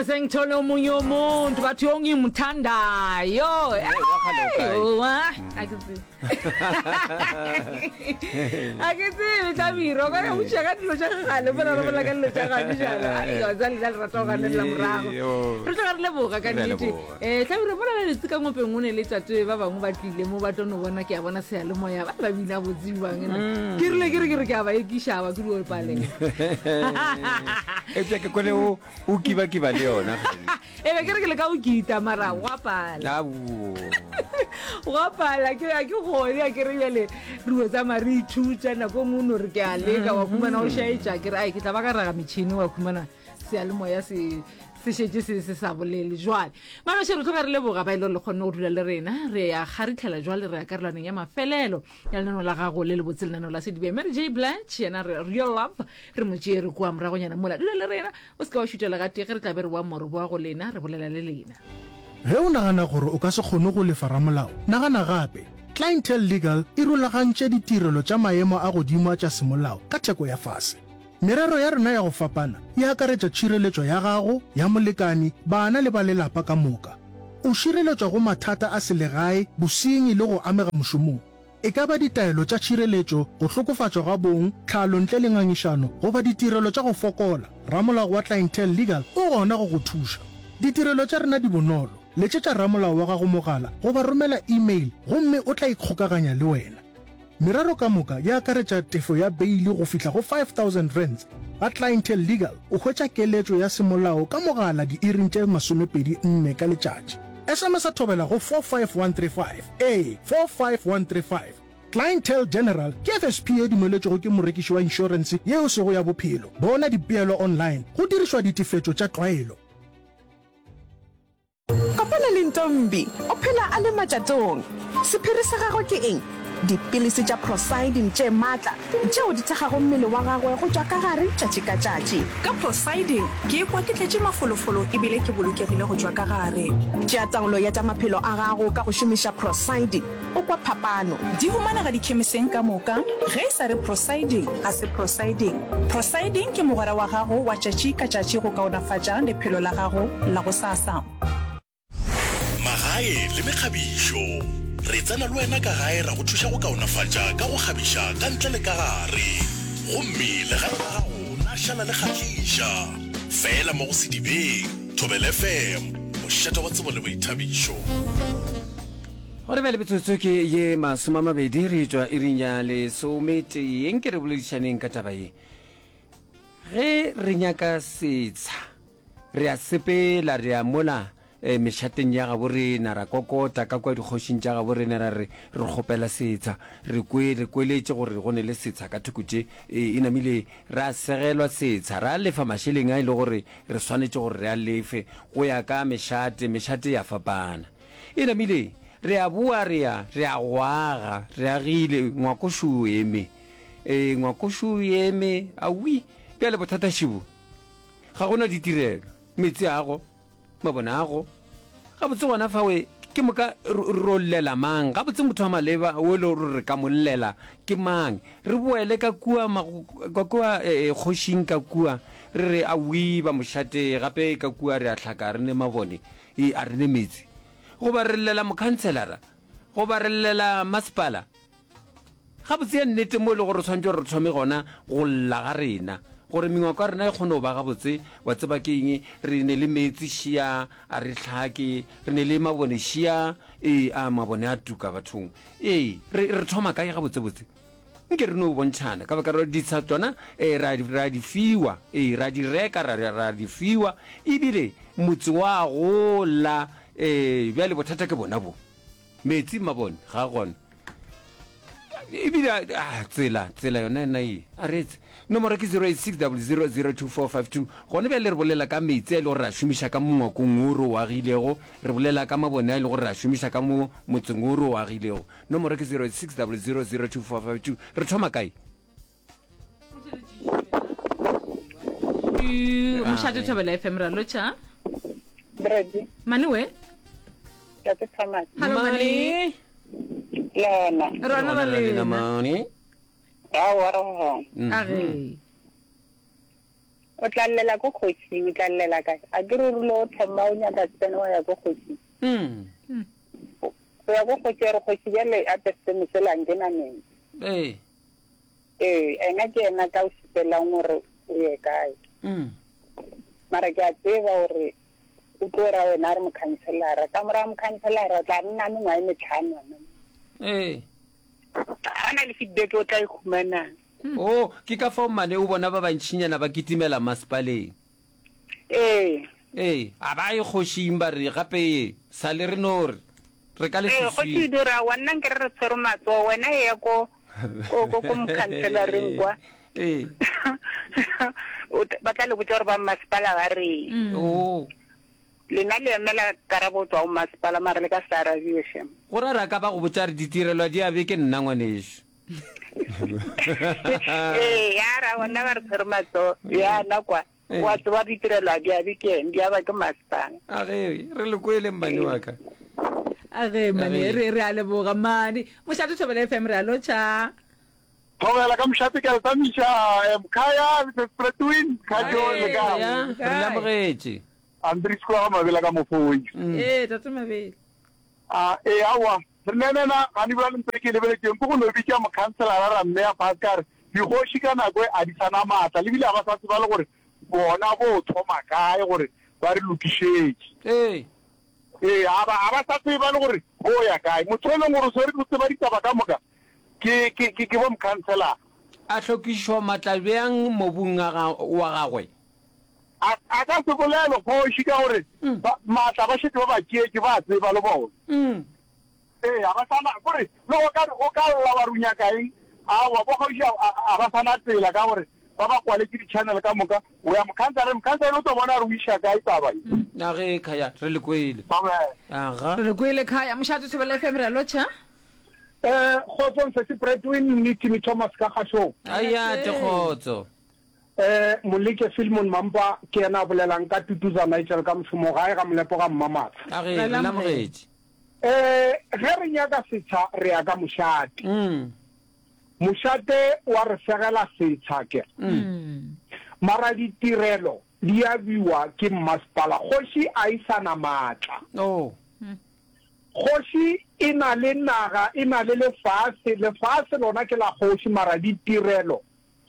Re sengithole omunye umuntu bathi ongimthandayo. Hey, Owa, a ke tsebe. A ke tsebe Hlabirwa, o ka re o tšea ka dilo tša kgale mola re bolela ka dilo tša gane bjalo. Ai, wa tseba lena le rata go ganelela morago. Yo. Re tloga re leboga ka Re a nnete. leboga. Eh, Hlabirwa mola le letse ka ngopeng o ne le tate ba bangwe ba tlile mo ba tlo no bona ke a bona seyalemoya ba ba bina botse bjang nna. Ke rile ke re ke re ke a ba ekiša ba ke dio palela. Eupša ke kwele o o kibakiba le yona. E be ke re ke leka go kita mara gwa pala. Aowa. Gwa pala ke a ke gone a ke re bjale re o tsamaya re ithuta nako e nngwe o no re ke a leka wa khumana o šaetša ke re ai ke tla ba ka raga metšhini wa khumana seyalemoya se se šetše se se sa bolele jwale maloše re tloga re leboga ba e le gore le kgonne go dula le rena re ya kgaritlhela jwale re ya karolwaneng ya mafelelo ya lenaneo la gago le lebotse lenaneo la sedibe Mary J Blige yena re real love re mo tšee re kua moragonyana mola dula le rena o se ke wa šutela gatee ge re tla be re boa mo re boa go lena re bolela le lena. Ge o nagana gore o ka se kgone go lefa ramolao, nagana gape. Clientele Legal e rulagantše ditirelo tša maemo a godimo a tša semolao ka theko ya fase. Merero ya rena ya go fapana e akaretša tšhireletšo ya gago, ya molekani, bana le ba lelapa ka moka. O šireletšwa go mathata a selegae, bosenyi le go amega mošomong. E ka ba ditaelo tša tšhireletšo, go hlokofatšwa ga bong, tlhalo ntle le ngangišano, goba ditirelo tša go fokola, ramolao wa Clientele Legal o gona go go thuša. Ditirelo tša rena di bonolo. Letšetša ramolao wa gago mogala goba romela e-mail gomme o tla ikgokaganya le wena. Merero ka moka e akaretša tefo ya beili go fihla go R5000. Ga Clientele Legal o hwetša keletšo ya semolao ka mogala diiring tše 24 ka letšatši. SMS-a thobela go 45135, ee, 45135. Clientele General ke FSP ye dumeletšwego ke morekiši wa inšorense ye e sego ya bophelo. Bona dipeelo online go dirišwa ditefetšo tša tlwaelo. Kopana le Ntombi, o phela a le matšatong. Sephiri sa gagwe ke eng? Dipilisi tša Procyldin tše matla tšeo di thekgago mmele wa gagwe go tšwa ka gare tšatši ka tšatši. Ka Procyldin, ke ikwa ke tletše mafolofolo e bile ke bolokegile go tšwa ka gare. Tšea taolo ya tša maphelo a gago ka go šomiša Procyldin. O kwa phapano. Di humanega dikhemiseng ka moka. Ge e sa re Procyldin, ga se Procyldin. Procyldin ke mogwera wa gago wa tšatši ka tšatši go kaonafatša lephelo la gago la gosasa. Magae le mekgabišo. Re tsena le wena ka gae ra go thuša go kaonafatša ka go kgabiša ka ntle le ka gare. Gomme legae la gago la šala le kgahliša. Feela mo go Sedibeng, Thobela FM, mošate wa tsebo le boithabišo. Gona bjale metsotso ke ye masomamabedi re tšwa iring ya lesometee. Nke re boledišaneng ka taba ye. Ge re nyaka setsha, re a sepela re ya mola eh, mešateng ya gabo rena, ra kokota ka kua dikgošing tša gabo rena ra re re kgopela setsha. Re kwe re kweletše gore go ne le setsha ka thoko tše, e, e namile ra segelwa setsha, ra lefa mašeleng a e le gore re swanetše gore re a lefe go ya ka mešate, mešate ya fapana. E namile, re a boa re ya, re a go aga, re agile, ngwako šo o eme. Ee, ngwako šo o eme, awi. Bjale bothata šibo, ga go na ditirelo, meetse a go, mabone a go. Gabotse gona fawe, ke moka ro llela mang? Gabotse motho wa maleba o e le gore re ka mo llela ke mang? Re boele ka kua, ka kua kgošing ka kua, re re awi ba mošate, gape ka kua re a hlaka, re ne mabone. E, a re ne meetse. Goba re llela mokhanselara, goba re llela masepala. Gabotse ya nnete mo e le gore re swanetše gore re thome gona go lla ga rena, gore mengwako ya rena e kgone go ba gabotse. Wa tseba ke eng? Re ne le meetse šia, a re hlake. Re ne le mabone šia, ee, a mabone a tuka bathong. Ee, re, re thoma kae gabotsebotse? Nke re no bontšhana, ka baka la gore ditsha tšona ee, ra, ra di fiwa, ee, ra di reka, ra, ra di fiwa, ebile motse wa gola. Ee, bjale bothata ke bona bo. Metsi, mabone, ga a gona. Ebile, ah, tsela, tsela yona ena e, a re etse. Nomoro ke 0860002452. Gona bjale re bolela ka metsi a e le gore re a šomiša ka mo ngwakong wo re o agilego, re bolela ka mabone a e le gore re a šomiša ka mo motseng wo re o agilego. Nomoro ke 0600024552. Re thoma kae? Mošate Thobela FM ra lotšha. Brady. Mane we? Tate Thomas. Hello Mane. Lona. Rona ra lena. Mane. Aowa re gona. A ge. O tla llela ko kgošing, o tla llela kae? A ke re o rile o thoma o nyaka tseno wa ya ko kgošing. O ya ko kgoši ya re kgoši bjale a pe seno sela nke na metsi. Ee. Ee, ena ke yena ka o šupelang gore o ye kae. Mara ke a tseba gore o tlo ra wena a re mokhanselara. Ka morago mokhanselara o tla nna mengwaga e metlhano gona mo. Ee. Ga na le feedback o tla e humanang. Oh, ke ka fao mane o bona ba bantšinyana ba kitimela masepaleng. Ee. Ee, a ba ye kgošing ba re, gape ye, sa le re no re, re ka Ee, kgoši leswiswing. e dio re, Aowa, nna nke re re tshwere matsogo, wena eya ko, ko, ko, ko mokhanselareng kwa. Ee. O tla, ba tla le botša gore ba mmasepala ba reng. Oh. Lena le emela karabo go tšwa go masepala, mara le ka se arabiwe, shem. Go ra re a ka ba go botša re ditirelo di abe ke nna, ngwanešu. Ee, ya ra bona ba re tshwere matsogo. Ya na kwa. Ee. Wa tseba ditirelo a di abe ke eng, di aba ke masepala. A ge, re le kwele mmane wa ka. A ge, mmane, re, re a leboga, mmane. Mošate Thobela FM, re a lotšha. Thobela ka mošate ke a le tamiša, eh, Mkhaya, Mrs. Pretwin, Khajo, le kae? Ya, re le amogetše. Andries kwa ga Mabela ka Mofoi. Ee, tate Mabela. A, ee, aowa, re nenena gane bjale ntho e ke e lebeletšeng ke go no bitša mokhanselara ra mmea fase ka re dikgoši ka nako e a di sa na maatla le bile ga ba sa tseba le gore bona bo thoma kae gore ba re lokišetše. Ee. Ee, ga ba, ga ba sa tseba le gore bo ya kae. Motho e leng gore o swere o tseba ditaba ka moka ke, ke, ke, ke bo mokhanselara. A hlokišwa maatla bjang mobung a ga, wa gagwe? A, a ka se bolele kgoši ka gore ba, maatla ba šetše ba ba tšeetše, ba a tseba le bona. Ee, ga ba sa na, kore le go ka, go ka lla wa re o nyaka eng, aowa, bo kgoši a, a, a ba sa na tsela ka gore ba ba kwaletše di-channel ka moka. O ya mokhanselareng, mokhanselara o tlo bona gore o iša kae taba ye. A ge, Khaya, re le kwele. Amen. Aga. Re le kwele, Khaya. Mošate Thobela FM, re a lotšha. Eh, kgotsong Sesi Bradwin le Timmy Thomas ka kgašong. Aya, te kgotso. Eh, Moleke Philemon Mampa ke yena a bolelang ka Tutuza Nigel ka mošomo gae ga Molepo ga Mmamatsha. A ge, re le amogetše. Eh, ge re nyaka setsha re ya ka mošate. Mošate wa re fegela setsha ke. Mara ditirelo di abiwa ke mmasepala. Kgoši a e sa na maatla. Oh. Kgoši e na le naga, e na le lefase. Lefase lona ke la kgoši mara ditirelo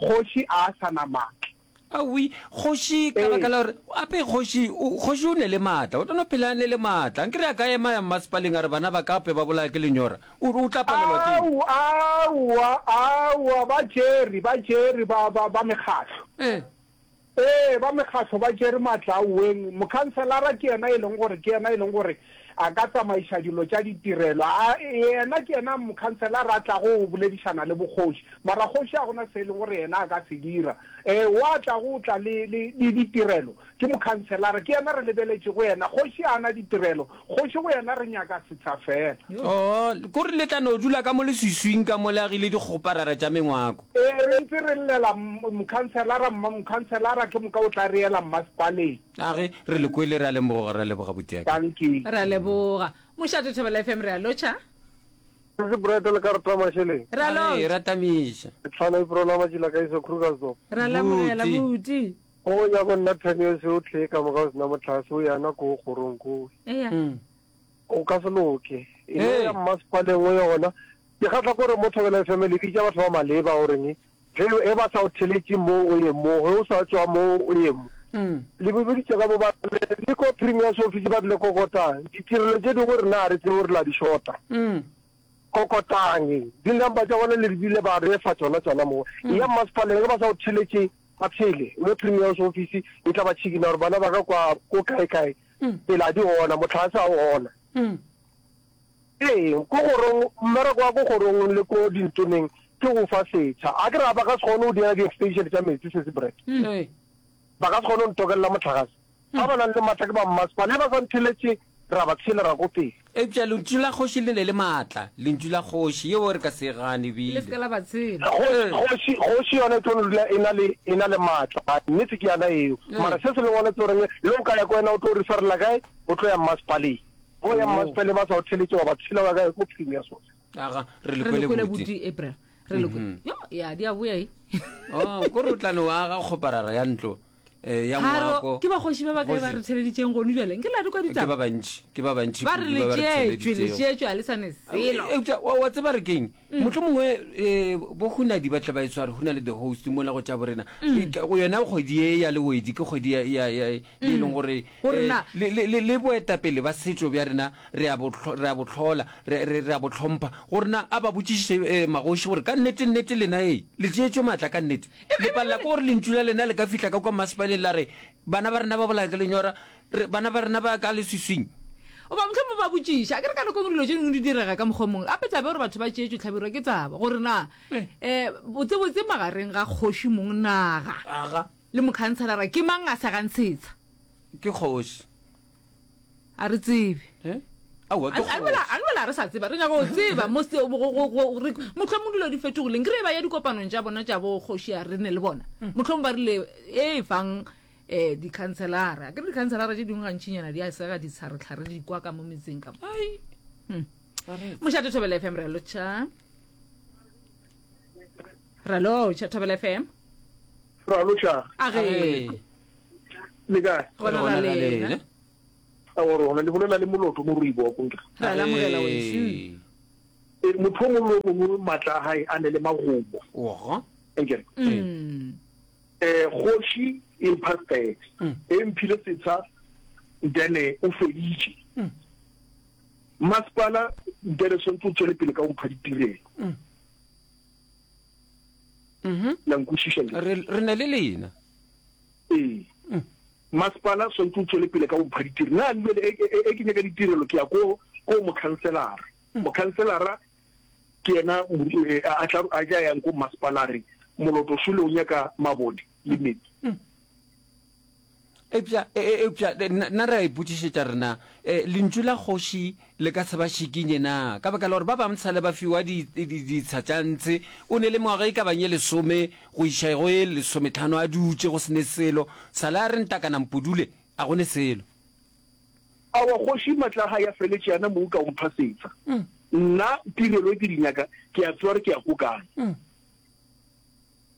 Kgoši a a sa na maatla. Aowi, kgoši, ka baka la gore, ape kgoši, o, kgoši o ne le maatla, o tlo no phela a ne le maatla. Nkere a ka ema ya mmasepaleng a re bana ba ka ape ba bolaya ke lenyora, o, o tla palelwa ke eng? Aowa, aowa, aowa, ba tšere, ba tšere ba, ba, ba mekgatlo. Ee. Ee, ba mekgatlo ba tšere matla aoweng. Mokhanselara ke yena e leng gore ke yena e leng gore a ka tsamaiša dilo tša ditirelo. A, yena ke yena mokhanselara a tlago go boledišana le bokgoši. Mara kgoši ga gona se e leng gore yena a ka se dira. Ee, wa tlago go tla le, le, le ditirelo ke mokhanselara. Ke yena re lebeletšego yena. Kgoši ga a na ditirelo. Kgoši go yena re nyaka setsha feela. Oo, kore le tla no dula ka mo leswiswing ka mo le agile dikgoparara tša mengwako. Ee, re ntse re llela mokhanselara, mma mokhanselara ke moka o tla re ela mmasepaleng. A ge, re le kwele, re a lemoga, re a leboga butiaka. Dankie. Re a leboga. Mošate Thobela FM re a lotšha. Sesi Bright le ka re tla mašeleng. Re a A ge, lotšha. ra tamiša. Ke tlhwana April a Matšila ka iso Krugersdorp. Re a lamogela Buti. buti. Go nyako nna ten years o tlhe ka moka o sena motlase o yana ko kgorong ko. Eya. O ka se loke. E no Hey. ya mmasepaleng o ye gona. Ke kgahla ke gore mo Thobela FM le bitša batho ba maleba goreng ge ge ba sa o theletše mo o ye mo, ge o sa tšwa mo o ye mo. Le biditše ka mo ba re le ko Premier's office ba rile kokotang. Ditirelo tše dingwe rena ga re tsebe gore la di shota. Kokotang. Di-number tša bona le di bile ba re fa tšona tšona mo. Eya mmasepaleng ge ba sa o theletše ba tshele o ye Premier's office e tla ba tšhikina gore bana ba ka kwa ko kae kae tsela di gona, mohlagase ga o gona. Ee, ko kgorong, mmereko wa ko kgorong le ko dintoneng ke go fa setsha. A ke ra ba ka se kgone go dira di-extension tša metsi, Sesi Brett. Ba ka se kgone go ntokelela mohlagase. Ba ba nang le matla ke ba mmasepala. Ge ba sa ntheletše, ra ba tshela ra ko pele. Eupša lentšu la kgoši le ne le maatla, lentšu la kgoši, yeo re ka se e gane Le bile. se ke la ba tshela. Kgoši, kgoši, kgoši yona e tlo no dula e na le, e na le matla. Nnete ke yana eo. Mara se se leng gona ke goreng le o ka ya ko wena o tlo referela kae? O tlo ya mmasepaleng. Bo ya mmasepaleng ba sa o theletše wa ba tshela wa kae ko Premier's office. Aga, re le Re le kwele kwele buti. buti April. Re le kwele. Yo, ya di a boya e. Oh, kore o tla no aga kgoparara ya ntlo. Eh, ya ngwako. Ke bakgoši ba bakae ba re theleditšeng gonu bjale? Nke la di kwa ditaba. Ke ba bantši, ke ba bantši Ba re kudu ba ba re letšetšwe, theleditšego. letšetšwe a le sa ne selo. Eupša wa wa tseba re keng? Mm. Mohlomongwe eh, bo Hunadi ba tle ba e tshware, Huna le the host mola go tša borena. Mm. Ke- Go yona kgwedi ye ya Lewedi ke kgwedi ya ya ya ye e leng Mm. gore Gore eh, na- le le le le boetapele ba setšo bja rena re a bo hlo- re a bo hlola, re re re a bo hlompha. Gore na a ba botšiše eh, magoši gore ka nnete nnete lena ee le tšeetšwe matla ka nnete. Le palela ke gore lentšu la lena le ka fihla ka kua masepaleng la re, Bana ba rena ba bolaya ke lenyora, re, bana ba rena ba ka leswiswing. Goba mohlomongwe ba botšiša, akere ka nako e nngwe dilo tše dingwe di direga ka mokgwa o mongwe. Gape taba ya gore batho ba tšeetšwe hlabirwa ke taba gore na um botsebotse magareng ga kgoši mong naga Aga. le mokhanselara ke mang a segang setsha. Ke kgoši. A re tsebe. Eh? Aowa, ke A bela a bela re sa tseba, re nyaka go tseba mo se go go go re mohlomong dilo di fetogileng. Ke re ba ya dikopanong tša bona tša bo kgoši a re ne le bona. Mm. Mohlomong ba rile e fang eh dikhanselara. Ke re dikhanselara tše dingwe gantšinyana di a sega ditshare-tlhare di kwa ka mo metseng ka mo. Ai. Hmm. Mošate Thobela FM re a lotšha. Re a lotšha Thobela FM. Re a lotšha. A ge. Le kae? Gona ra lena. A gore gona le bolela le moloto mo ruibo wa konke. Re a lamogela wešu. E, motho o mongwe le o mongwe matla a gae a ne le magomo. Ogo. Enkere. Mm. Eh, kgoši e mpha step. Mm. E mphile setsha then o feditše. Mm. Masepala then swantse o tswele pele ka go mpha ditirelo. Mm. Mhm. La nkwešiša le? Re re ne le lena. Ee. Masepala swantse o tswele pele ka go mpha ditirelo. Na bjale e, e, e ke nyaka ditirelo ke ya ko ko mokhanselara. Mokhanselara ke yena eh, a tla a tla yang ko masepala a re Moloto Šole o nyaka mabone le metsi. Eupša, e, e, eupša nna, nna re a ipotšišetša rena, e, lentšu la kgoši le ka se ba šikinye na? Ka baka la gore ba bangwe sa le ba fiwa di, di, ditsha tša ntshe, o ne le mengwaga e ka bang ye lesome go iša go ye lesometlhano a dutše go se ne selo, sa le a re ntakana mpudule, a go ne selo. Aowa, kgoši matla a gae a feletše, yana mo o ka o mpha setsha. Nna tirelo e ke di nyaka, ke a tseba gore ke ya ko kae.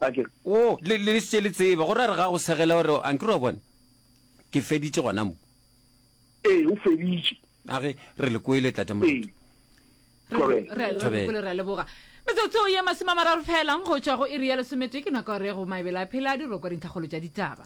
A ke re. O, le, le šetše le tseba, gore a re ga go segela gore, a nkere wa bona, ke feditše gona mo. Ee, o feditše. A ge, re le kwele, Tate Moloto. Ee. Correct. Re, re, Thobela. kwele, re a leboga. Metsotso ye masomeamararo fela go tšwa go iri ya lesometee ke nako ya gore go maebele a phela di rokwa dintlhakgolo tša ditaba.